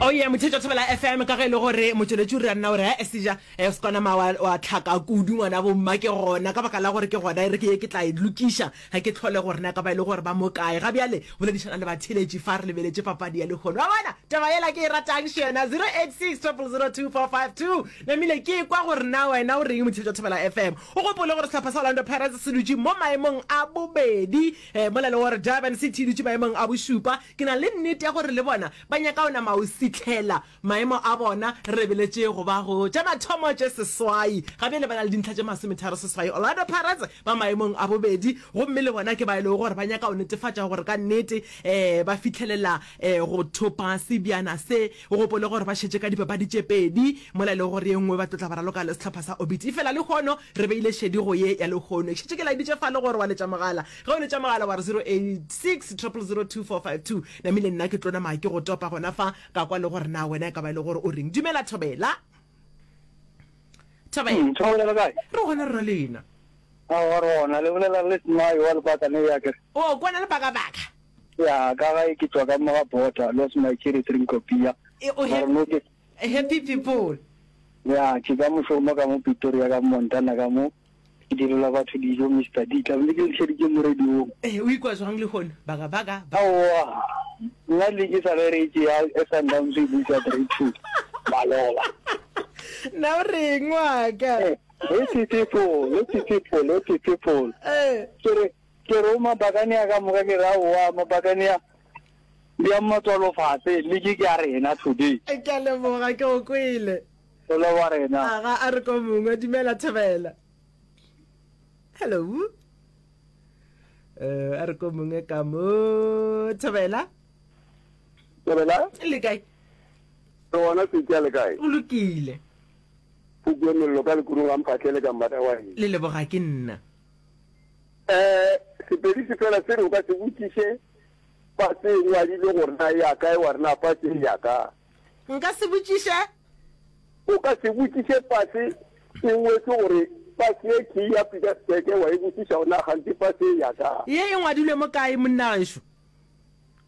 Oh yeah, motheetši wa Thobela FM, ka ge e le gore motšweletši o re nna o re he seja eh, se kwana wa, wa tlhaka kudu ngwana bomma ke gona ka baka la gore ke gona e re ke ye ke tla e lokiša ga ke tlhole gore na ka ba e le gore ba mo kae ga bjale boledišana le batheeletši fa re lebeletše papadi ya lehono wa bona taba yela ke e ratang še yona 086 0002452 namile ke kwa gore na wena o reng motheetši wa Thobela FM o gopole gore sehlopha sa Orlando Pirates se dutše mo maemong a bobedi eh, mola le gore Durban City e dutše maemong a bošupa Ke na le nnete ya gore le bona ba nyaka go nama o sihlela maemo a bona re lebeletše go ba go tša mathomo tše seswai. Ga bjale ba na le dintlha tše masometharo seswai. Orlando Pirates ba maemong a bobedi gomme le bona ke ba e lego gore ba nyaka go netefatša gore ka nnete ba fihlelela go thopa sebjana se. O gopole gore ba šetše ka dipapadi tše pedi mola e lego gore ye nngwe ba tlo tla ba raloka le sehlopha sa Orbit. Efela lehono re beile šedi go ye ya lehono. Ke šetše ke laeditše fale gore wa letša mogala. Ge o letša mogala wa re 086 000 2452, namile nna ke tlo nama ke go topa gona fa ka kwa le gore na wena e ka ba e le gore o reng. Dumela Thobela. Thobela. Mm, Thobela le kae? Re gona rra lena. Aowa re gona, le bolela le Smai wa Lebakane ya kere. O kwana le bakabaka. Ya, ka gae ke tšwa ka mo ga border, lost my cherry drink kopia. E, o Mara no ke happy people. Ya, ke ka mošomo ka mo Pretoria ka Montana ka mo. Ke direla batho dijo Mister D. Tla be ke le šeditše mo radiong. Ee, o ikwa jwang lehono? Baka, baka, ba. Aowa, nna league e sa le re e tšea Sundowns e buša 3-2 maloba. Nna o reng wa ka? Eh, happy people, happy people, happy people. Eh. Ke re, ke re o mabakane a ka moka ke re aowa mabakane a bjang matswalo fase league ke ya rena today. Ke a leboga, ke go kwele. Go leboga rena. Aga a re ko mongwe dumela Thobela. Hello. Eh a re ko mongwe ka mo Thobela. Thobela. Le kae? Re gona Setša le kae? O lokile. Pukwe mello ka lekurung ga mphahlele ka mmata wa eng? Le leboga ke nna. Eh Sepedi se fela se re o ka se botšiše pase e ngwadilwe gore na e ya kae wa re na pase e ya ka. Nka se botšiše? O ka se botšiše pase e ngwetšwe gore pase ye ke ya Pietersburg wa e botšiša gore na kganthe pase ye ya kae. Ye e ngwadilwe mo kae monna gešo?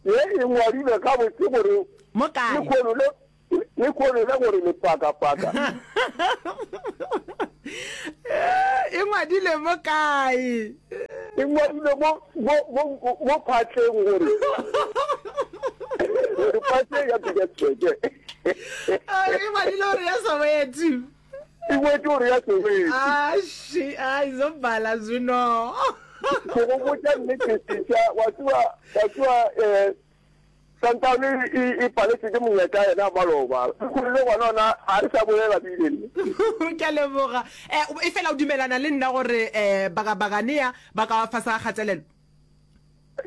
Ye e ngwadilwe gabotse gore Mo kae? lekhono le lekhono le gore le pakapaka. E ngwadilwe mo kae? E ngwadilwe mo mo mo mo phatleng gore gore pase ya Pietersburg. E ngwadilwe gore ya Soweto. E ngwetše gore ya Soweto. Ashi, ai zobala zwino. Ke go botša nnete sesha, wa tseba wa tseba eh Santown e, e paletšwe ke monyetla yena maloba. Lehono le gona ona ga re sa bolela bile le. Ke a leboga. Eh, efela o dumelana le nna gore eh, baka Baganea ba ka fase ga kgatelelo?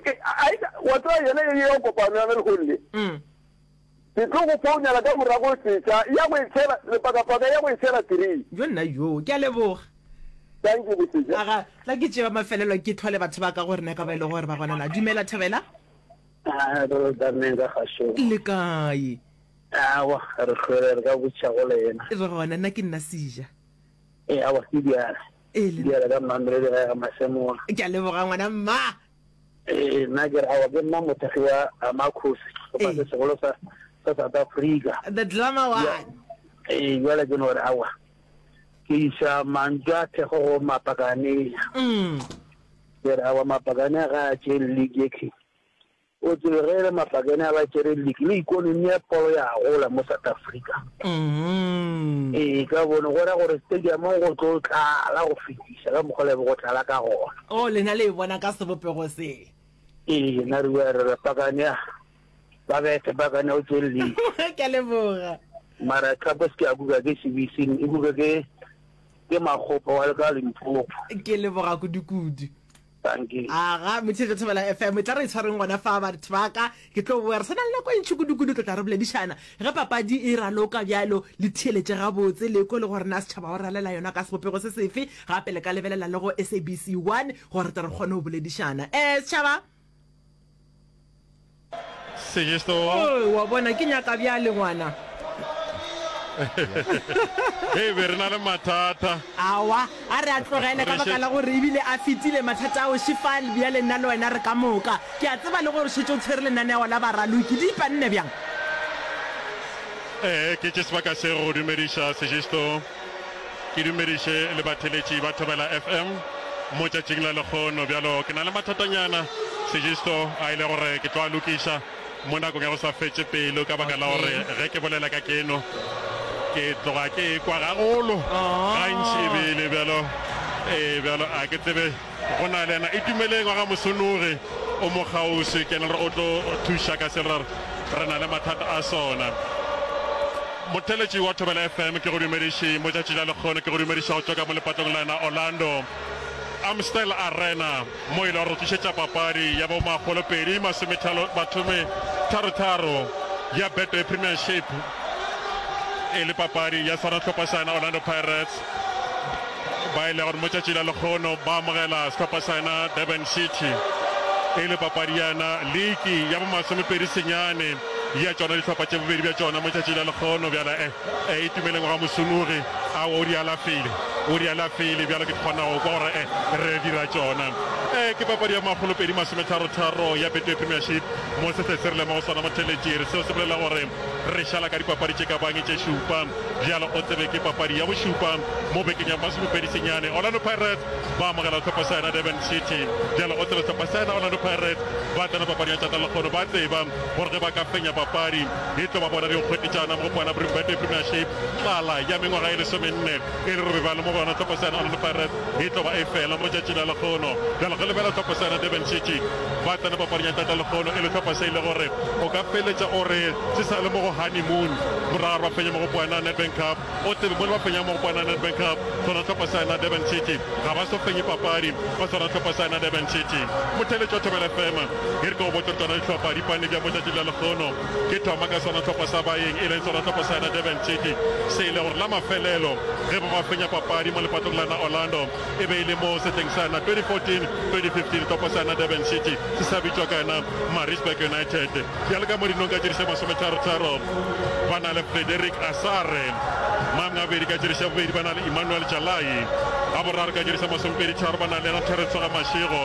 Ke, a, a, wa tseba yena ye ya kopano yana lehono le. Mm. Ke tlo go founela ka morago setša ya go e tshela lepakapaka ya go e tshela three. Jo nna jo, ke a leboga. Thank you bosetša. Aga, tla ke tšea mafelelo ke tlhole batho ba ka gore na ka ba e le gore ba gona na. Dumela Thobela. A re tsameng ka kgašong. Le kae? Awa, re hlwele re ka botšiša go lena. Re gona, nna ke nna Seja. Ee, awa, ke Diala. Ee, le. Diala ka Mamelodi gae ga Masemola. Ke a leboga ngwana mma. Ee, nna ke re awa ke nna mothekgi wa Amakhosi, sehlopha se segolo sa sa South Africa. The Glamour One. Ee, jwale ke no re awa ke iša mantšu a thekgo go Mapakanea. Mm. Ke re awa Mapakanea ga a tšee league ye ke O tsebe ge e le mapakene a ba tšere league le ikonomi ya polo ya gola mo South Africa. Ee, ka bone go ra gore stadiumong go tlo tlala go fetiša ka mokgwa le be go tlala ka gona. Oh, lena le e bona ka sebopego se. Ee, nna re bua re re pakane a ba bethe pakane o tšere league. Ke a leboga. Mara cup se ke ya kuka ke sebising e kuka ke ke Makgopa wa le ka Limpopo. Ke leboga kudu-kudu. Dankie. Aga, Motheetša Thobela FM, e tla re itshwareng gona fa batho ba ka. Ke tlo boya, re sa na le nako e ntši kudu-kudu, tlo tla re boledišana. Ge papadi e raloka bjalo, le theeletše gabotse, le kwe le gore na setšhaba o ralela yona ka sebopego se sefe. Gape le ka lebelela le go SABC 1 gore re tle re kgone go boledišana. Eh, setšhaba! Segisto. Oh, wa bona ke nyaka bjale ngwana. Hei, be re na le mathata. Aowa, a re a tlogele ka baka la gore ebile a fetile mathata ao šifal bjale nna le wena re ka moka. Ke a tseba le gore o šetše o tshwere lenaneo la baraloki. Di ipanne bjang? Ee, ke tše sebaka se go dumediša Sejisto. Ke dumediše le batheletši ba Thobela FM mo tšatšing la lekgono. Bjalo ke na le mathatanyana Sejisto a ile gore ke tlo a lokiša mo nakong ya go sa fetše pelo ka baka la gore ge ke bolela ka keno ke tloga ke ekwa gagolo gantši ebile bjalo ee bjalo a ke tsebe Go na le yena Itumeleng wa ga Mosonogi, o mo kgauswi, ke yena gore o tlo thuša ka se re re na le mathata a sona. Motheeletši wa Thobela FM, ke go dumediše mo tšatši la lekgono, ke go dumediša go tšwa ka mo lepatlong la yena Orlando Amstel Arena, mo e le gore re tlišetša papadi ya bo makgolopedi masomethalo mathome tharo tharo ya Betway Premiership, e le papadi ya sona hlopha sa yena Orlando Pirates. Ba e le gore mo tšatši la lekgono ba amogela sehlopha sa yena Durban City e le papadi ya yena liki ya bomasomepedi senyane ya tšona dihlopha tše bobedi bja tšona mo tšatši la lekgono. Bjale e e Itumeleng wa ga Mosunogi a o di alafile, o di alafile bjalo ke kgona go kwa gore e re dira tšona. E ke papadi ya makgolopedi masometharo-tharo ya Betway Premiership mo se se re lema go sona motheletši. Seo se bolela gore re šala ka dipapadi tše ka bang tše šupa. Bjalo o tsebe ke papadi ya bošupa mo bekeng ya masomepedi senyane. Orlando Pirates ba amogela sehlopha sa yena Durban City. Bjalo o tsebe sehlopha sa yena Orlando Pirates ba tsena papading ya tšatla lekgono ba tseba gore ge ba ka fenya papadi e tlo ba bona dinkgwete tša yona Mogopwana Betway Premiership. Tlala ya mengwaga e lesomenne e le gore be ba le mo go yona sehlopha sa yena Orlando Pirates e tlo ba e fela mo tšatši la lekgono. Bjalo ge lebela sehlopha sa yena Durban City ba tsena papading ya tšatla lekgono e le sehlopha se e le gore o ka feletša o re se sa le mo go honeymoon morago ga gore ba fenye mogopwana Nedbank Cup. O tsebe mo le ba fenyang mogopwana Nedbank Cup sona sehlopha sa yena Durban City ga ba so fenye papadi ba sona sehlopha sa yena Durban City. Motheeletši wa Thobela FM e re ke go botše gore tšona dihlopha di pane bjang mo tšatšing la lekgono. Ke thoma ka sona sehlopha sa baeng e leng sona sehlopha sa yena Durban City se e le gore la mafelelo ge ba ba fenya papadi mo lepatlong la yena Orlando e be e le mo sehleng sa yena 2014 2015 sehlopha sa yena Durban City se sa bitšwa ka yena Maritzburg United. Bjalo ka mo dinong ka tšeriša masometharo-tharo ba na le Frederick Asare, mangabedi ka tšeriša bobedi ba na le Emmanuel Jalai, a boraro ka tšeriša masomepedi-tharo ba na le yena Terence wa ga Mashego,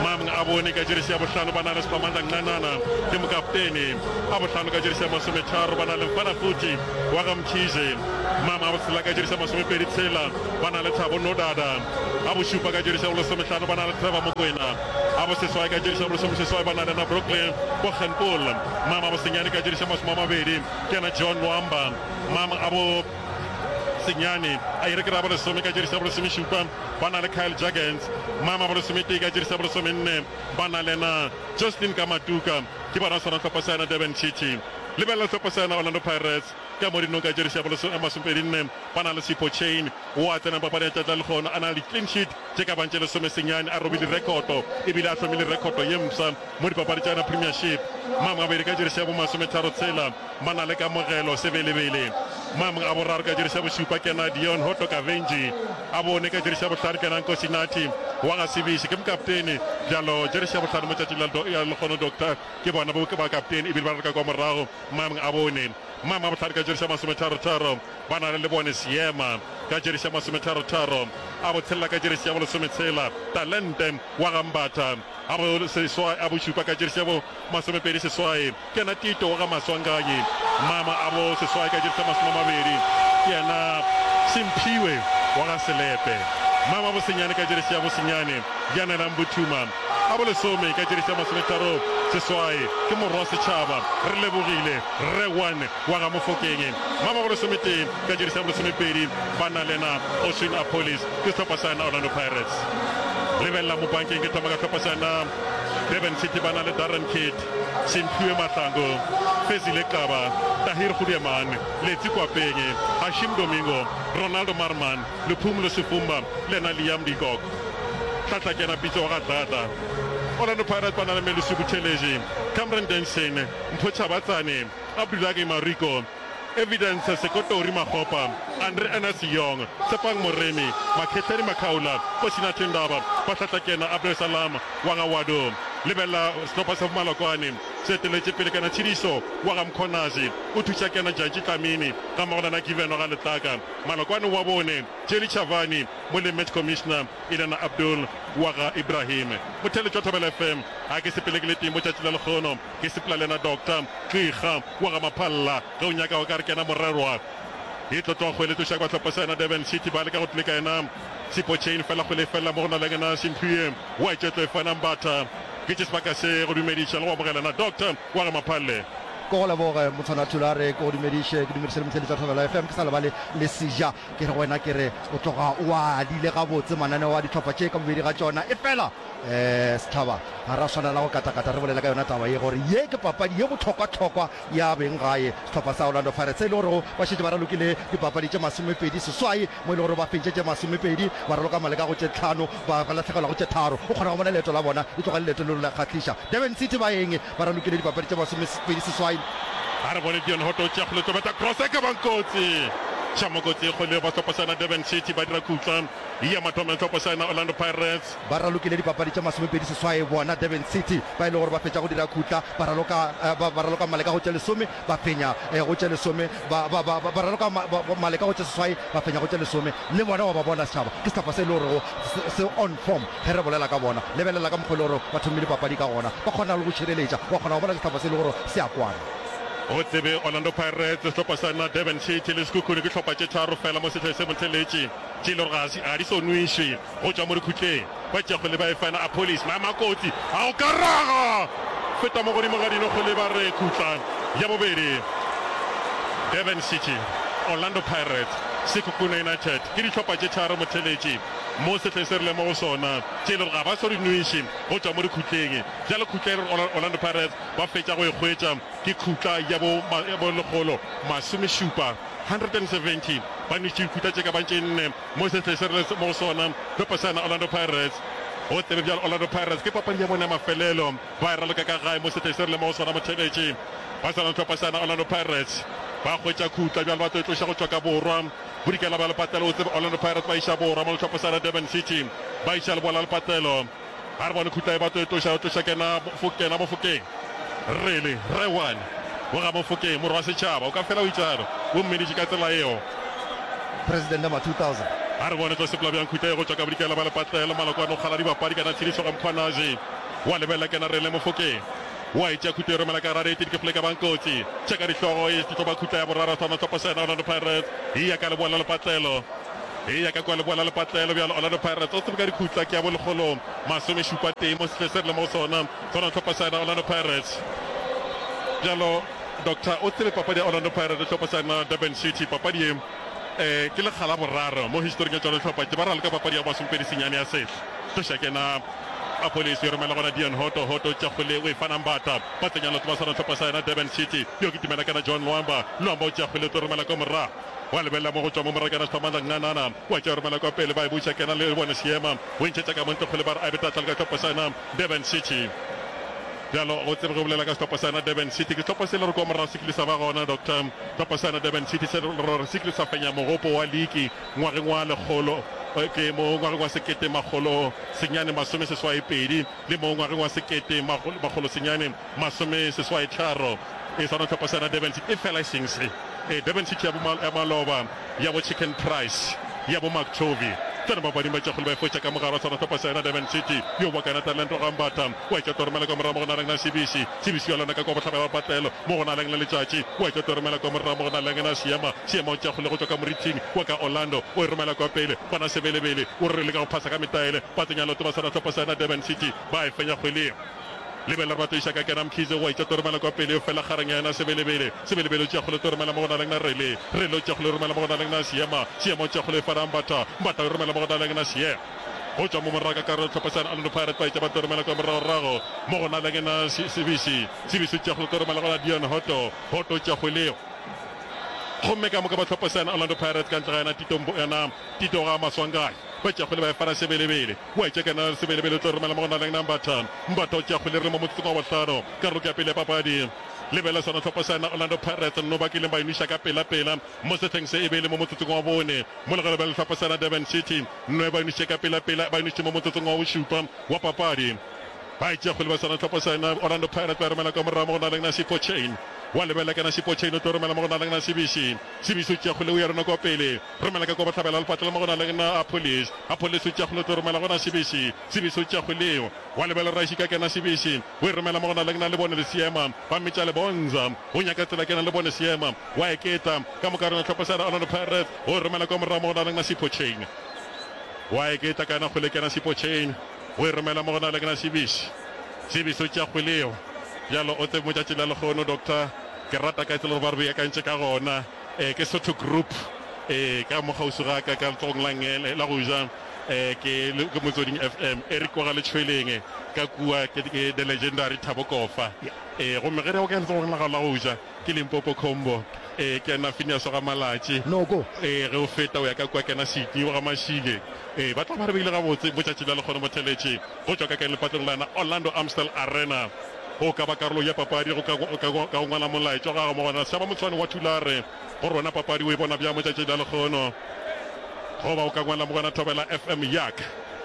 mang a bone ka tšeriša ya bohlano ba na le Siphamandla Ncanana ke mokaptene, a bohlano ka tšeriša masometharo ba na le Mfana Futhi wa ga Mkhize, mang a botshela ka tšeriša masomepedi-tshela ba na le Thabo Nodada, a bošupa ka tšeriša bolesomehlano ba na le Trevor Mokoena. A boseswai ka jeriša bolesomeseswai ba na le na Brooklyn Boggenpoel. Mama bosenyane ka jeriša masomeamabedi ke yena John Nwamba. Mama a bo senyane a ire ke ra bolesome ka jeriša bolesomešupa ba na le Kyle Jurgens. Mama bolesometee ka jeriša bolesomenne ba na le na Jocelyn Kamatuka. Ke bona sona hlopha sa yena Durban City. Lebelela hlopha sa yena Orlando Pirates ka mo dinong ka jeriša bolesomepedinne ba na le Sipho Chaine wo a tsenang papadi ya tšatši la lekgono a na le di-clean sheet tše ka bang tše lesomesenyane, a robile rekoto ebile a hlomile rekoto ye mpsha mo dipapadi tša yona Premiership. Mamgabedi ka jeresi ya bo masometharotshela ba na le kamogelo Sebelebele. Mamg a boraro ka jeresi ya bošupa ke yena Dion Hotto Kavenji, a bone ka jeresi ya bohlano ke yena Nkosinathi wa ga Sebisi ke mokaptene. Bjalo jeresi ya bohlano mo tšatšing la lekgono Doctor ke bona bo bakaptene ebile ba raloka kwa morago. Mamg a bone Mamg a bohlano ka jeresi ya masometharotharo Ba na le lebone Seema ka jeresi ya masometharotharo, a botshelela ka jeresi ya bolesometshela, Talente wa ga Mbatha, a boseswai, a bošupa ka jeresi ya bo masomepedi seswai, ke yena Tito wa ga Maswanganyi, Mama, a boseswai ka jeresi ya masomamabedi, ke yena Simphiwe wa ga Selepe, Mama, bosenyane ka jeresi ya bosenyane, Yanela Mbuthuma, a bolesome ka jeresi ya masometharo seswai, ke Morwa Setšhaba, Relebogile Rre One wa ga Mofokeng. Ba ba bolesometee ka jeresi ya bolesomepedi ba na le na Oswin Appollis ke sehlopha sa yena Orlando Pirates. Lebelela mo bankeng ke thoma ka sehlopha sa yena Durban City ba na le Darren Kidd, Simphiwe Mahlangu, Fezile Xaba, Tahir Goedeman, Letsi Kwapeng, Hashim Domingo, Ronaldo Maarman, Luphumlo Sifumba le yena Liam de Kock. Hlahla ke yena Pitso wa ga Dladla. Orlando Pirates ba na le Melusi Buthelezi, Cameron Denson, Mpho Chabatsane, Abdulage Mariko, Evidence Sekotori Makgopa, Andre Ernest Young, Tshepang Moremi, Makhehleni Makhaula, Kosinathi Ndaba, Bahlatlakena Abdul Salam wa ga Wado. Lebelela sehlopha sa Bomalokwane. Se eteletše pele kana Tshidiso wa ga Mkhwanazi, o thuša kena Jantji Dlamini gammogo le na Given wa ga Letlaka. Malokwane wa bone, Jelly Chavani, mo le Match Commissioner e le na Abdul wa ga Ibrahim. Motheeletši wa Thobela FM, ga ke sepele ke le tee mo tšatši la lekgono, ke sepela le na Doctor Qiga wa ga Maphalla. Ge o nyaka o ka re kena morerwa. E tlo tloga kgwele tloša kwa hlopha sa yena Durban City ba leka go tleka yena Sipho Chaine fela kgwele e felela mo go na le yena Simphiwe wa etšwa tlo e fana Mbatha. Ke tše sebaka se go dumediša le go amogela na Doctor wa ga Maphalle. Ke go leboge Motshwana Thulare, ke go dumediše, ke dumediše le motheeletši wa Thobela FM, ke sa lebale le Seja. Ke re go wena ke re o tloga o a adile gabotse mananeo a dihlopha tše ka bobedi ga tšona. Efela um setšhaba ga ra swanela go katakata re bolela ka yona taba ye gore ye ke papadi ye bohlokwahlokwa ya beng gae. Sehlopha sa Orlando Pirates e le gorego ba šetše ba ralokile dipapadi tše masomepedi seswai mo e le gore ba fentše tše masomepedi, ba raloka maleka go tše tlhano, ba lahlegelwa go tše tharo. O kgona go bona leeto la bona e tloga e le leeto leo la kgahliša. Durban City ba eng? Ba ralokile dipapadi tše masomepedi seswai. A re bone Deon Hotto o tšea kgole tlo beta cross e ka bang kotsi. Tšhamo kotsi e kgole ba sehlopha sa Durban City ba dira khutla ya mathomo ya sehlopha sa Orlando Pirates. Ba ralokile dipapadi tše masomepedi seswai bona Durban City ba e le gore ba fetša go dira khutla ba raloka ba ba raloka maleka go tše lesome ba fenya go tše lesome ba ba ba ba raloka maleka go tše seswai ba fenya go tše lesome le bona wa ba bona setšhaba ke sehlopha se e le gorego se on form ge re bolela ka bona lebelela ka mokgwa e le gore ba thomile papadi ka gona ba kgona le go šireletša wa kgona go bona ke sehlopha se e le gore se a kwana. O tsebe Orlando Pirates, sehlopha sa na Durban City le Sekhukhune ke hlopha tše tharo fela mo sehleng se motheletši tše e le gore ga di so nwišwe. Go tšwa mo dikhutleng, ba tšea kgwele ba e fana Appollis, maemo a kotsi a go ka raga feta mo godimo ga dino kgwele ba re khutla ya bobedi. Durban City, Orlando Pirates, Sekhukhune United ke dihlopha tše tharo motheletši mo sehleng se re leng mo go sona tše e le gore ga ba so di nweše go tšwa mo dikhutleng. Bjale khutla e re Orlando Pirates ba fetša go e hwetša ke khutla ya bo lekgolo masomešupa, 170, ba nwešitše dikhutla tše ka bang tše nne. Mo sehleng se re leng mo go sona, hlopha sa yona Orlando Pirates. Go tsebe bjalo, Orlando Pirates ke papadi ya bona ya mafelelo ba e raloka ka gae mo sehleng se re leng mo go sona. Motheeletši ba sa hlopha sa yona Orlando Pirates ba hwetša khutla bjalo ba tlo e tloša go tšwa ka borwa bodikela bja lepatlelo. O tsebe Orlando Pirates ba iša borwa mo le hlopha sa yona Durban City ba iša leboa la lepatlelo. A re bone khutla e ba tlo e tloša, tloša kena, fo, kena Mofokeng. Rele, Rre One, wa ga Mofokeng, morwa wa setšhaba, o ka fela o itšalo, o mmeditše ka tsela yeo. President number 2000. A re bone tlo sepela bjang khutla ye go tšwa ka bodikela ba lepatlelo, maloko a no kgala dibapadi kana tshedišo ga Mkhwanazi. Wa lebelela kena Rele Mofokeng. Wa e tšea khutla e romela ka gare, e ke kgole ka bang kotsi. Tšeka dihlogo, e tlo ba khutla ya boraro, sona hlopha sa yena Orlando Pirates, e ya ka leboa la lepatlelo. Eya ka kua leboa la lepatlelo bjalo Orlando Pirates o tsebe ka dikhutla ke ya bo lekgolo masomešupa tee mo sehle se re le mo go sona sona hlopha sa yena Orlando Pirates bjalo Doctor o tsebe papadi ya Orlando Pirates le hlopha sa yena Durban City papadi ye eh, ke lekga la boraro mo historing ya tšona dihlopha tše ba raloka papadi ya masomepedi senyane ya sehla tloša kena Appollis e romela gona Deon Hotto Hotto tša kgole o e fana Mbatha ba tsenya leoto ba swana hlopha sa yena Durban City yo kitimela kana John Lwamba Lwamba o tšea kgole o tlo romela kwa morago Wa lebelela mo go tšwa mo morakana Siphamandla Nganana, wa tšea romela kwa pele, ba e buša kena le bone seema, o e ntšhetša ka mo ntle kgole ba re a e be tahlelo ka sehlopha sa yona Durban City. Bjalo go tsebe ge o bolela ka sehlopha sa yona Durban City, ke sehlopha se le gore kwa morago se kile sa ba gona Doctor, sehlopha sa yona Durban City se le gore se kile sa fenya mogopo wa liki ngwageng wa lekgolo ke mo ngwageng wa sekete makgolo senyane masome seswai pedi le mo ngwageng wa sekete makgolo senyane Masomeseswai tharo e swana hlopha sa Durban City efela e seng se. E Durban City ya bo ya maloba ya bo Chicken Price ya bo Mark Tovey. Tsena bapading ba tšakgolo ba e fotša ka mogare wa swana hlopha sa yona Durban City yo wa kana talento ga Mbatha wa etša toromela kwa morago mo go naleng na Sibisi. Sibisi wa lona ka kwa bohlabela ba patlelo mo go naleng le letšatši wa etša toromela kwa morago mo go naleng na Seema. Seema o tšakgole go tšwa ka moriting wa ka Orlando o e romela kwa pele gona Sebelebele o re leka go phasa ka metaele ba tsenya leoto ba swana hlopha sa yona Durban City ba e fenya kgweleng. Lebelela re batlo iša ka kena Mkhize wa itša toromela kwa pele fela kgareng ya yena Sebelebele. Sebelebele o tšea kgole toromela mo go naleng na Rele. Rele o tšea kgole romela mo go naleng na Seema. Seema o tšea kgole fana Mbatha. Mbatha o romela mo go naleng na Seema. Go tšwa mo morago ka karolo hlopha sa Orlando Pirates ba itša ba toromela kwa moragorago mo go naleng na Sibisi. Sibisi o tšea kgole toromela go na Dion Hotto. Hotto o tšea kgwele gomme ka moka ba hlopha sa Orlando Pirates ka ntle ga yena Tito yena Tito ga Maswanganyi. Ba tšea kgwele ba e fana Sebelebele. Wa etša kena Sebelebele o tlo romela mo go naleng na Mbatha. Mbatha o tšea kgwele re mo motsotsong wa bohlano. Karolo ke ya pele ya papadi. Lebelela sona hlopha sa yena Orlando Pirates nno ba kileng ba e nweša ka pela-pela mo sehleng se e be e le mo motsotsong wa bone. Mo le ge lebelela hlopha sa yena Durban City nno ba e nwešitše ka pela-pela ba e nwešitše mo motsotsong wa bošupa wa papadi. Ba e tšea kgwele ba swana hlopha sa yena Orlando Pirates ba e romela ka morago mo go na leng na Sipho Chaine. Wa lebelela kana Sipho Chaine o tlo romela mo go na leng na Sibisi. Sibisi o tšea kgwele o ya rona kwa pele. Romela ka kwa bohlabela lepatlelo mo go na leng na Appollis. Appollis o tšea kgwele o tlo romela go na Sibisi. Sibisi o tšea kgwele eo. Wa lebelela Raishika kena Sibisi. O e romela mo go na leng na Lebone Lesiema. Ba mmitša Lebonza. O nyaka tsela kena Lebone Seema. Wa eketa. Ka moka rena hlopha sa yena Orlando Pirates. O e romela kwa morago mo go na leng na Sipho Chaine. Wa eketa kana kgwele kena Sipho Chaine. O e romela mo go na le ke na Sebisi. Sebisi o tšea kgwele yeo. Bjalo o tsebe motšatši la lehono, Doctor, ke rata ka tsela gore ba re beakantše ka gona. E, ke Sotho Group. E, ka mo kgauswi ga ka, ka letsogong la nngele, la go ja, e, ke, ke Motsweding FM. Eric wa ga Letšhweleng, ka kua, ke, ke the legendary Thabo Kofa. E, gomme ge re ya ka letsogong la gago la go ja, Ke Limpopo Combo. Ee, ke yena Phineas wa ga Malatši. Noko. Ee, ge o feta o ya ka kua kena Sydney wa ga Mashile. Ee, ba tla ba re beile gabotse mo tšatši la lekgono motheletši go tšwa ka kae lepatlong la yena Orlando Amstel Arena. Go ka ba karolo ya papadi go ka, ka, ka go ngwala molaetša wa gago mo gona Sešaba Motshwane wa Thulare gore wena papadi o e bona bjang mo tšatši la lekgono. Goba o ka ngwala mo gona Thobela FM yak.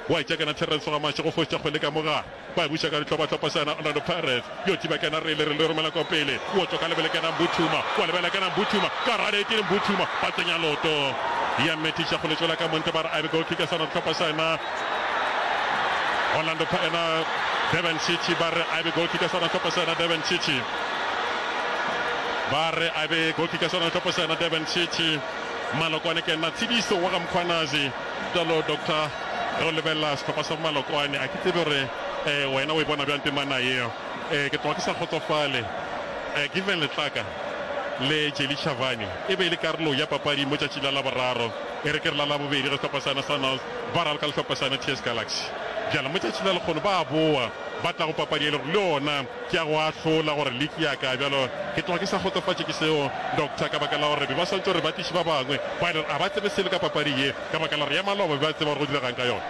Wa etša kena Terence wa ga Mashe go fošetša kgwele ka mo gare. Ba e buša ka dihlophahlopha sa yena Orlando Pirates. Yo thiba kena Rele, Rele romela kwa pele. O tšwa ka lebele kena Mbuthuma. Wa lebela kena Mbuthuma. Ka gare ke Mbuthuma. Ba tsenya loto. Ya methiša go letšwela ka monte ba re a be goal kick ya sona sehlopha sa yena Orlando yena Durban City ba re a be goal kick ya sona sehlopha sa yena Durban City. Ba re a be goal kick ya sona sehlopha sa yena Durban City. Malokwane ke yena Tshidiso wa ga Mkhwanazi. Bjalo Doctor, ge o lebelela sehlopha sa Malokwane, a ke tsebe gore um wena o e bona bjang temana yeo. Um ke tloga ke sa kgotsofale. Um Given Letlaka le Jelly Chavani e be e le karolo ya papadi mo tšatši la Laboraro, e re ke re la Labobedi ge sehlopha sa yona Sundowns ba raloka le sehlopha sa yona TS Galaxy. Bjalo mo tšatši la lekgono ba a boa ba tla go papadi e le gore le yona ke ya go ahlola gore liki ya kae. Bjalo ke tloga ke sa kgotsofatše ke seo, Doctor, ka baka la gore be ba swantše gore ba tliše ba bangwe ba e le gore a ba tsebe selo ka papadi ye, ka baka la gore ya maloba be ba tseba gore go diregang ka yona.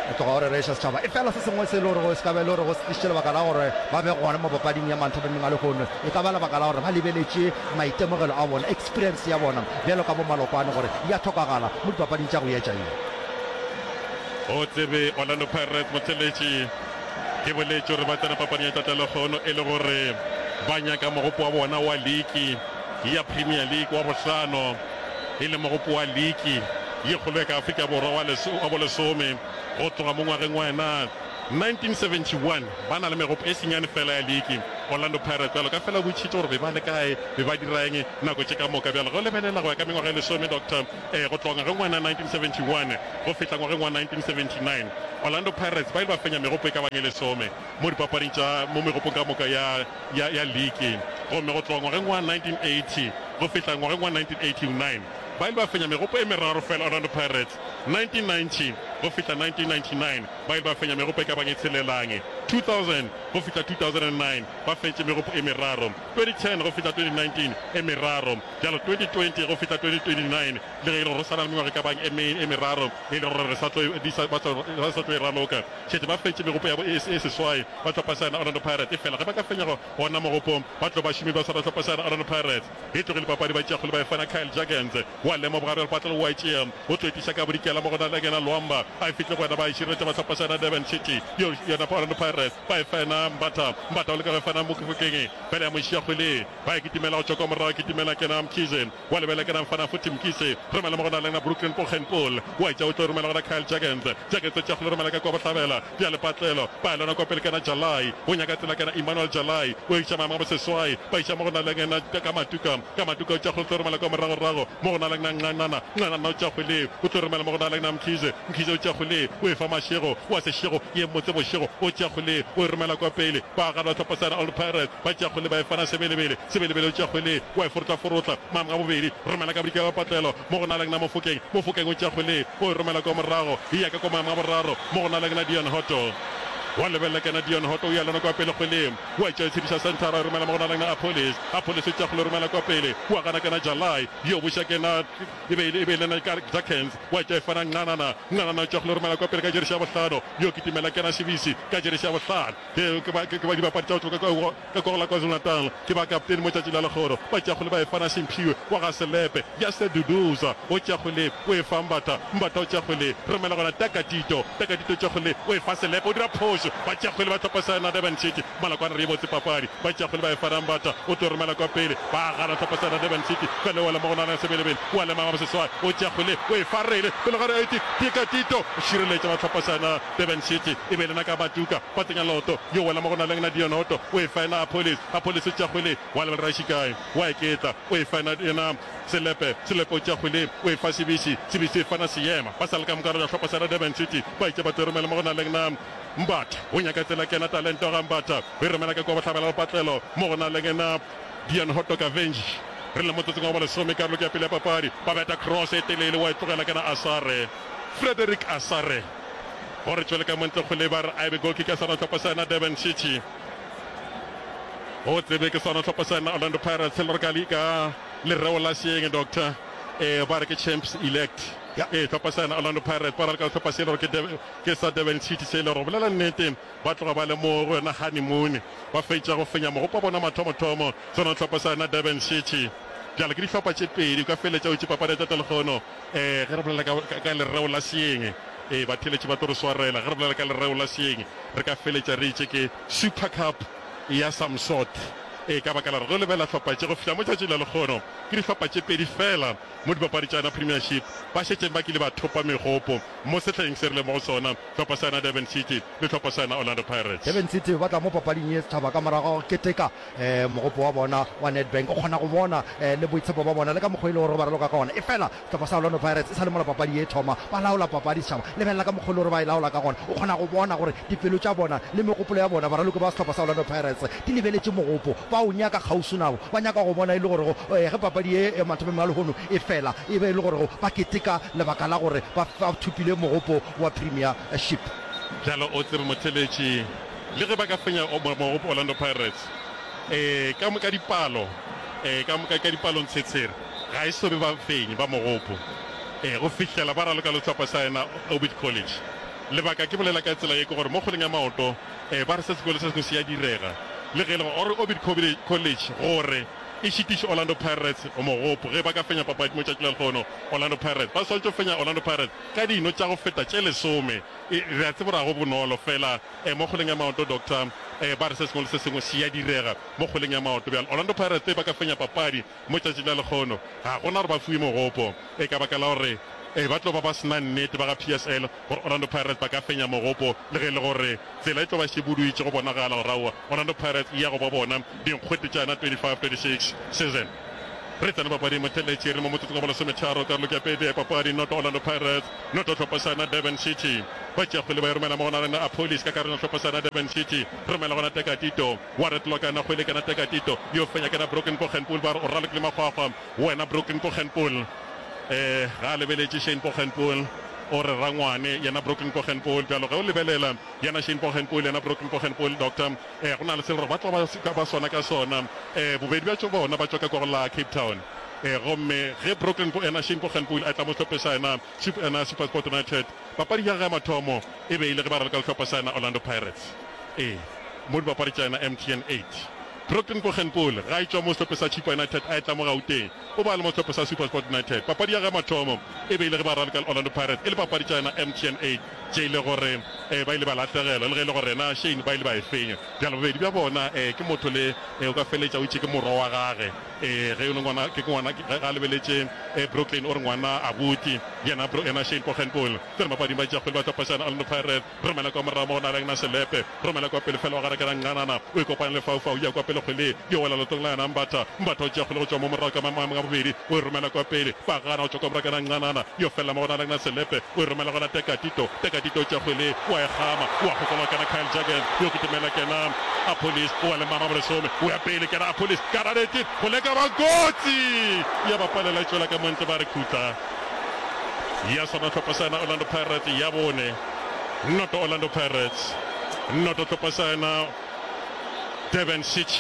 O tloga o rereša setšhaba. Efela se sengwe se e le gore se ka ba e le gore go se tlišitše lebaka la gore ba be gona mo papading ya manthapameng a lehono, e ka ba lebaka la gore ba lebeletše maitemogelo a bona, experience ya bona bjalo ka bomalokwane gore ya hlokagala mo dipapading tša go etša ye. O tsebe Orlando Pirates motheletši. Ke boletše gore ba tsena papading ya tatelekgono e le gore ba nyaka mogopo wa bona wa liki ya Premier League wa bohlano, e le mogopo wa liki ye kgolo ya ka Afrika Borwa wa wa bolesome go tloga mo ngwageng wa yena 1971. Ba na le megopo e senyane fela ya liki Orlando Pirates bjalo ka fela o botšitše gore be ba le kae, be ba dira eng nako tše ka moka. Bjalo ge o lebelela go ya ka mengwaga e lesome, Doctor, eh, go tloga ngwageng wa 1971 go fihla ngwageng wa 1979, Orlando Pirates ba ile ba fenya megopo e ka bang e lesome mo dipapading tša mo megopong ka moka ya, ya, ya liki. Gomme go tloga ngwageng wa 1980 go fihla ngwageng wa 1989 ba ile ba fenya megopo e meraro fela Orlando Pirates. 1990 go fihla 1999 ba ile ba fenya megopo e ka bang e tshelelang. 2000 go fihla 2009 ba fentše megopo e meraro. 2010 go fihla 2019 e meraro. Bjalo 2020 go fihla 2029 le ge e le gore go sa na le mengwaga e ka bang e me, e meraro e le gore re sa tlo e, di sa, ba sa, ba sa tlo e raloka. Šetše ba fentše megopo ya bo e, e seswai ba hlopha sa yena Orlando Pirates. Efela ge ba ka fenya go, gona mogopo, ba tlo ba šomi ba swara hlopha sa yena Orlando Pirates. E tlogile papadi ba tšea kgole ba e fana Kyle Jurgens wa lema bogare bja lepatlelo o a e tšea o tlo e tliša ka bodikela mo go na le yena Luamba a e fihle go yena ba e šireletša ba hlopha sa yena Durban City yo yona Orlando Pirates ba e fa yena Mbatha Mbatha o leka go e fana Mofokeng fela ya mo šia kgwele ba e kitimela go tšwa kwa morago kitimela kena Mkhize Wa lebela ke na mfana futhi Mkhize romela mo go na le na Brooklyn Poggenpoel wa etša o tlo romela gona Kyle Jurgens Jurgens o tšea kgole romela ka kwa bohlabela bja lepatlelo ba lona kwa pele ke na Jalai o nyaka tsela ke na Emmanuel Jalai o iša maemo a boseswai ba iša mo go na le na ka Matuka ka Matuka o tšea kgole tlo romela kwa moragorago mo go na le na Nqanana Nqanana o tšea kgole o tlo romela mo go na le na Mkhize Mkhize o tšea kgole o e fa Mashego wa Seshego ye mmotse Bošego o tšea kgole o e romela kwa pele ba gana hlopha sa Old Pirates Ba tšea kgwele ba e fana Sebelebele. Sebelebele o tšea kgwele wa e forotlaforotla. Maemo a bobedi, romela ka bodikela patlelo mo go Naleng na Mofokeng. Mofokeng o tšea kgwele o e romela kwa morago. E ya ka kwa maemo a boraro mo go Naleng na Dion Hotto. Wa lebelela kena Dion Hotto o ya lona kwa pele kgweleng. Wa e tšea e tshediša senthara e romela mo go Naleng na Appollis. Appollis o tšea kgwele o romela kwa pele. Wa gana kena Jalai. Yo buša kena e be e le e be e le na Jacens. Wa tšea e fana Nqanana. Nqanana o tšea kgwele o romela kwa pele ka jeresi ya bohlano. Yo kitimela kena Shibisi ka jeresi ya bohlano. Ke, ke ba, ke, ke ba dibapadi tša go tšwa ka kwa, ka kwa go la KwaZulu-Natal. Ke ba kaptene mo tšatši la lekgoro. Ba tšea kgwele ba e fana Simphiwe wa ga Selepe. Jaster Duduza o tšea kgwele o e fa Mbatha. Mbatha o tšea kgwele romela gona Takatito. Takatito o tšea kgwele o e fa Selepe. O dira phošo. Appollis ba tšea kgwele ba hlopha sa yena Durban City. Malakwane re e botse papadi. Ba tšea kgwele ba e fa Rambata o tlo romela kwa pele. Ba gana hlopha sa yena Durban City. Fela o lema go nana Sebelebele wa lema Maboseswai o tšea kgwele o e fa Rele pele ga re Tika Tito o šireletša ba hlopha sa yena Durban City. E be lena ka Batuka ba tsenya loto yo wela mo go naleng na Dion Hotto o e fa yena Appollis. Appollis o tšea kgwele wa lebelela Raishikai wa eketla o e fa yena yena Selepe, Selepe o tšea kgwele o e fa Sibisi, Sibisi o e fa na Seema. Ba sa le ka moka re hlopha sa Durban City ba itše ba tlo romela mo go naleng na Mbatha. O nyaka tsela kena talente ga Mbatha o e romela ka kua bohlabela lepatlelo mo go naleng na Dion Hotto Kavenji. Re le motsotsong wa bolesome karolo ke ya pele ya papadi. Ba beta cross e telele wa e tlogela kena Asare. Frederick Asare gore tšwele ka montle kgwele ba re a e be goal kick ya sona hlopha sa yena Durban City. Go tsebe ke sona hlopha sa yena Orlando Pirates le re ka ka lereo la seeng doctor eh ba re ke champs elect Ya. eh hlopha sa yena Orlando Pirates ba raloka sehlopha se le gore ke Durban- ke sa Durban City se le gore go bolela nnete ba tloga ba le mo go yona honeymoon ba fetša go fenya mogopo wa bona mathomothomo sona sehlopha sa yena Durban City bjale ke dihlopha tše pedi o ka feletša o itše papadi ya tšatša lekgono eh ge re bolela ka, ka, ka lereo la seeng eh batheeletši ba tlo re swarela ge re bolela ka lereo la seeng re ka feletša re itše ke Super Cup ya Samsot. Ee, ka baka la gore ge o lebelela hlopha tše go fihla mo tšatšing la lekgono, ke dihlopha tše pedi feela mo dipapadi tša yona Premiership ba šetšeng ba kile ba thopa megopo mo sehleng se re leng mo go sona, hlopha sa yona Durban City le hlopha sa yona Orlando Pirates. Durban City ba tla mo papading ye setšhaba ka morago ga go keteka mogopo wa bona wa Nedbank. O kgona go bona le boitshepo ba bona le ka mokgwa e le gore ba raloka ka gona. Efela Sehlopha sa Orlando Pirates e sa le mola papadi ye e thoma, ba laola papadi setšhaba. Lebelela ka mokgwa e le gore ba e laola ka gona. O kgona go bona gore dipelo tša bona le megopolo ya bona, baraloki ba sehlopha sa Orlando Pirates, di lebeletše mogopo. Ba o nyaka kgauswi nabo. Ba nyaka go bona e le gore go, ge papadi ye ya mathomong a lehono e fela, e be e le gore go ba keteka lebaka la gore ba, ba thopile mogopo wa Premiership. Bjalo o tsebe motheeletši, le ge ba ka fenya mogopo Orlando Pirates, ee, ka, ka dipalo, ee, ka, ka, ka dipalontshetshere, Ga e so be bafenyi ba mogopo e go fihlela ba raloka le sehlopha sa yena Orbit College. Lebaka ke bolela ka tsela ye ke gore mo kgweleng ya maoto e ba re se sengwe le se sengwe se ya direga. Le ge e le gore Orbit College gore e šitiše Orlando Pirates mogopo ge ba ka fenya papadi mo tšatši la lehono, Orlando Pirates ba swanetše go fenya Orlando Pirates ka dino tša go feta tše lesome. E re a tseba gore ga go bonolo fela e mo kgweleng ya maoto Doctor e ba re se sengwe le se sengwe se ya direga mo kgweleng ya maoto. Bjale Orlando Pirates ba ka fenya papadi Mo tšatšing la lekgono, ga go na gore ba fiwe mogopo, e ka baka la gore e ba tlo ba ba se na nnete ba ga PSL gore Orlando Pirates ba ka fenya mogopo, le ge e le gore tsela e tlo ba e šebuduitše go bonagala gore aowa Orlando Pirates e ya go ba bona dinkgwete tša yona 25-26 season. Re tsena papading motheletši re mo motsotsong wa bolesometharo karolo ke ya pedi ya papadi noto Orlando Pirates noto hlopha sa yona Durban City ba tšea kgwele ba e romela mo go na le Appollis ka karolong ya hlopha sa yona Durban City romela gona Tekatito Wa retloka yena kgwele kena Tekatito yo fenya kena Brooklyn Poggenpoel ba re o ralokile makgwakgwa wena Brooklyn Poggenpoel eh ga a lebeletše Shane Poggenpoel o re rangwane yena Brooklyn Poggenpoel bjalo ge o lebelela yena Shane Poggenpoel yena Brooklyn Poggenpoel doctor eh go na le se le gore ba tlo ba ba swana ka sona eh bobedi bja tšo bona ba tšwa ka kwa go la Cape Town eh gomme ge Brooklyn yena Shane Poggenpoel a tla mo sehlopheng sa yena yena SuperSport United papadi ya gagwe ya mathomo e be e le ge ba raloka le sehlopha sa yena Orlando Pirates ee Mo dipapadi tša yena MTN eight. Brooklyn Poggenpoel ga e tšwa mo sehlopheng sa Chippa United a etla mo Gauteng, o ba le mo sehlopheng sa SuperSport United. Papadi ya ge mathomo e be e le ge ba raloka le Orlando Pirates e le papadi tša yena MTN eight tše e le gore ba ile ba lahlegelwa le ge e le gore yena Shane ba ile ba e fenya. Bjalo bobedi bja bona ke motho le o ka feleletša o itše ke morwa wa gage ge e le ngwana ke ngwana ge a lebeletše Brooklyn o re ngwana abuti yena yena Shane Poggenpoel. Tsena papading ba tšea kgwele ba tlopa sa yena Orlando Pirates. Romela kwa morago mo go naleng na Selepe. Romela kwa pele fela wa gare ke Ranqanana. O ikopanya le Faufau. Ya kwa pele kgwele yo wela leotong la yena Mbatha. Mbatha o tšea kgwele go tšwa mo morago ka maemong a bobedi. O e romela kwa pele. Ba gana go tšwa kwa morago ke Ranqanana. Yo felela mo go naleng na Selepe. O e romela gona Tekatito. Tekatito o tšea kgwele wa e gama. Wa kgokologa kena Kyle Jurgens. Yo kitimela kena Appollis. O wa le mama bolesome. O ya pele kena Appollis. Karadeti go leka ba kotsi. Ya ba palela e tšwela ka montle ba re khutla. Ya swana hlopha sa yena Orlando Pirates ya bone. Noto Orlando Pirates. Noto hlopha sa yena Durban City.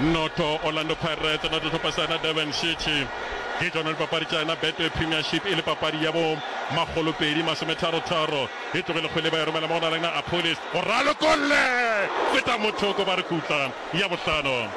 Noto Orlando Pirates, noto hlopha sa yena Durban City. Ke tšona dipapadi tša yena Betway Premiership e le papadi ya bo makgolopedi masometharotharo. E tlogile kgwele ba e romela mo go na le na Appollis. O ralokolle! Feta mothoko ba re khutla. Ya bohlano,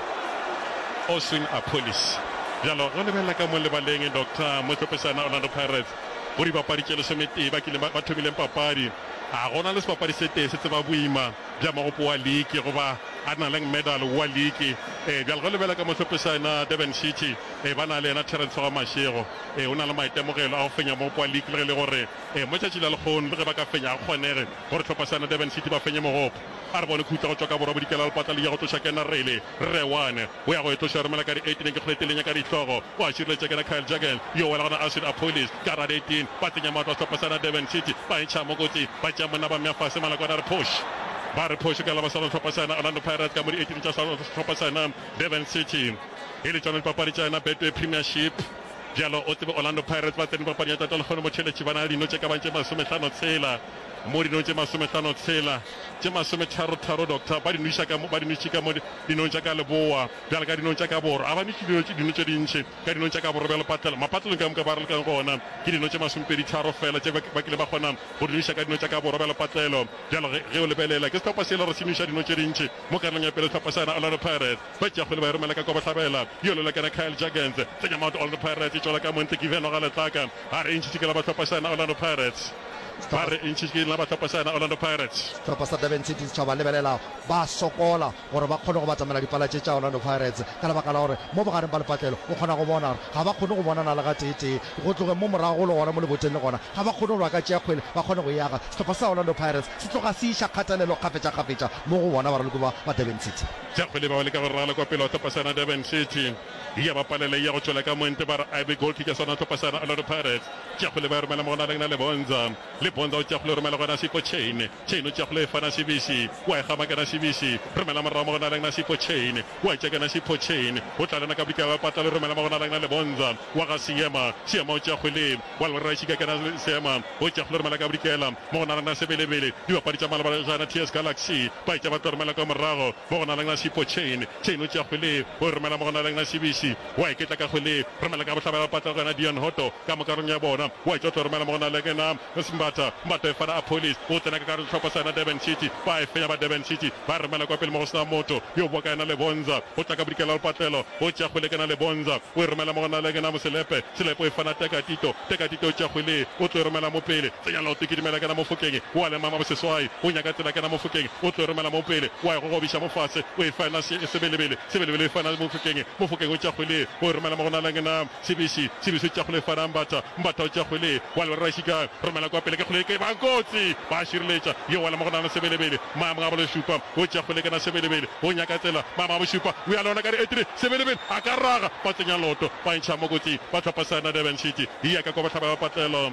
Oswin Appollis. Bjalo, ge o lebelela ka mo lebaleng, Doctor Mohlopesana, Orlando Pirates, go dibapadi tše lesometee ba kileng ba, ba thomileng papadi. Ga go na le sebapadi se tee se tseba boima bja mogopo wa liki goba a na leng medal wa liki. Ee, bjale ge o lebela ka mo hlophisana Durban City, ee, ba na le yena Terence wa Mashego. Ee, o na le maitemogelo a go fenya mogopo wa liki le ge e le gore, ee, mo tšatši la lekgono le ge ba ka fenya ga go kgonege gore hlopha Durban City ba fenye mogopo. A re bone khutla go tšwa ka borwa bodikela lepatla le ya go tloša kena Rele Rewane o ya go e tloša romela ka di 18 ke kgole telenya ka dihlogo o a šireletša kena Kyle Jurgens yo wela gona Ashwin Appollis ka ra 18 ba tsenya maoto a sehlopha sa Durban City ba e ntšha mo kotsi ba tšea monna ba mmea fase Malakwane a re phoš ba re phošo ka la ba swana sehlopha sa Orlando Pirates ka mo di 18 tša sehlopha sa Durban City e le tšona dipapadi tša yona Betway Premiership Bjalo o tsebe Orlando Pirates ba tsene papading ya tata lekgono motheeletši ba na le dino tše ka bang tše masomehlano tshela mo dinong tše masomehlano tshela tše masometharo tharo doctor ba di nweša ka mo ba di nwetše ka mo dinong tša ka leboa bjalo ka dinong tša ka borwa a ba nwetše dino dino tše dintši ka dinong tša ka borwa bjalo patlelo mapatlelong ka moka ba ralokang gona ke dino tše masomepedi tharo fela tše ba kile ba kgona go di nweša ka dino tša ka borwa bjalo patlelo bjalo ge ge o lebelela ke sehlopha se e le gore se nweša dino tše dintši mo karolong ya pele sehlopha sa yona Orlando Pirates Ba tšea kgwele ba e romela ka kwa bohlabela. Yo lwela kena Kyle Jurgens. Tsenya maoto Orlando Pirates e tšwela ka montle Given wa ga Letlaka. Ba re e ntšhitše ke la ba hlopha sa yona Orlando Pirates. Ba re e ntšhitše ke la ba hlopha sa yona Orlando Pirates. Sehlopha sa Durban City setšhaba lebelela ba sokola gore ba kgone go batamela dipala tše tša Orlando Pirates ka lebaka la gore mo bogareng ba lepatlelo o kgona go bona gore ga ba kgone go bonana le gateetee go tlogeng mo morago le gona mo leboteng le gona ga ba kgone gore ba ka tšea kgwele ba kgone go e aga. Sehlopha sa Orlando Pirates se tloga se iša kgatelelo kgafetšakgafetša mo go bona baraloki ba ba Durban City. Tša kgwele ba ba leka go ragala kwa pele wa hlopha sa Durban City. Ya ba palela ya go tšwela ka monte ba re a be goal kick ya sona hlopha sa Orlando Pirates. Tša kgwele ba e romela mo go na le Bonza. Le Bonza o tša kgwele o romela go yena Sipho Chaine. Chaine o tša kgwele e fana Sibisi. Wa e gama kena Sibisi. Romela morago mo go na Sipho Chaine. Wa e tša kena Sipho Chaine. O tla lena ka bodikela ba patla le romela mo go na le Bonza. Wa ga Seema. Seema o tša kgwele. Wa lora šika kena Seema. O tša kgwele romela ka bodikela mo go na le Sebelebele. Dibapadi tša malobana tša TS Galaxy ba etša ba tlo romela kwa morago mo go na le Sipho Chaine. Chaine o tšea kgwele o e romela mo go na le Sibisi. Wa iketla ka kgwele romela ka bohlabela ba patla go yena Deon Hotto ka mokarong ya bona. Wa etša o tlo romela mo go na le Mbatha. Mbatha e fana Appollis o tsena ka gare sehlopha sa yena Durban City. Ba e fenya ba Durban City ba e romela kwa pele mo go se na motho yo boa ka yena Lebonza. O tla ka bodikela lepatlelo o tšea kgwele kena Lebonza o e romela mo go na le Moselepe. Selepe o e fana Tekatito. Tekatito o tšea kgwele o tlo e romela mo pele. Tsenya leoto kitimela kena Mofokeng wa le mama boseswai o nyaka tsela kena Mofokeng o tlo e romela mo pele wa e gogobiša mo fase o e fana Sebelebele Sebelebele o e fana Mofokeng Mofokeng o tšea kgwele o e romela mo go na le Sebisi Sebisi o tšea kgwele e fana Mbatha Mbatha o tšea kgwele wa le Rašika romela kwa pele ke kgwele ke ba kotsi ba šireletša yo wela mo go na le Sebelebele maemo a bolešupa o tšea kgwele kena Sebelebele o nyaka tsela maemo a bošupa o ya le ona ka di-eight Sebelebele a ka raga ba tsenya loto ba ntšha mo kotsing ba hlopha sa Durban City ya ka kwa bohlaba ba patlelo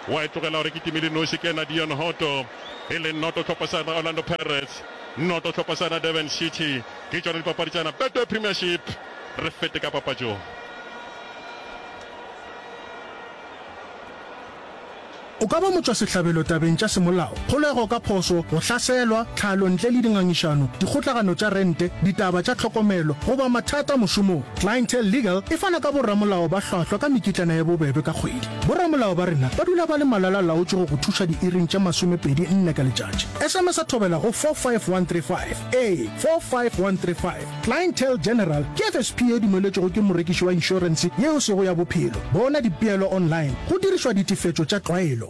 Wa e tlogela gore e kitime le noši ke yena Deon Hotto, e leng noto hlopha sa Orlando Pirates, noto hlopha sa Durban City. Ke tšona dipapadi tša Betway Premiership. Re fete ka papatšong. O ka ba motšwasehlabelo tabeng tša semolao, kgolego ka phošo, go hlaselwa, tlhalo ntle le dingangišano, dikgotlagano tša rente, ditaba tša tlhokomelo, goba mathata mošomong. Clientele Legal e fana ka boramolao ba hlwahlwa ka mekitlana ye bobebe ka kgwedi. Boramolao ba rena ba dula ba le malala-laotšwe go go thuša diiring tše masomepedi nne ka letšatši. SMS-a thobela go 45135. Ee, 45135. Clientele General ke FSP ye dumeletšwego ke morekiši wa inšorense ye e sego ya bophelo. Bona dipeelo online go dirišwa ditefetšo tša tlwaelo.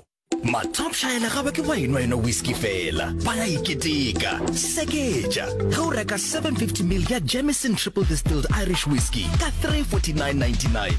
Mathopšaele ga ba ke ba enwa enwa whisky fela, ba ya e keteka. Seketša ge o reka 750 ml ya Jameson Triple Distilled Irish Whiskey ka 349.99.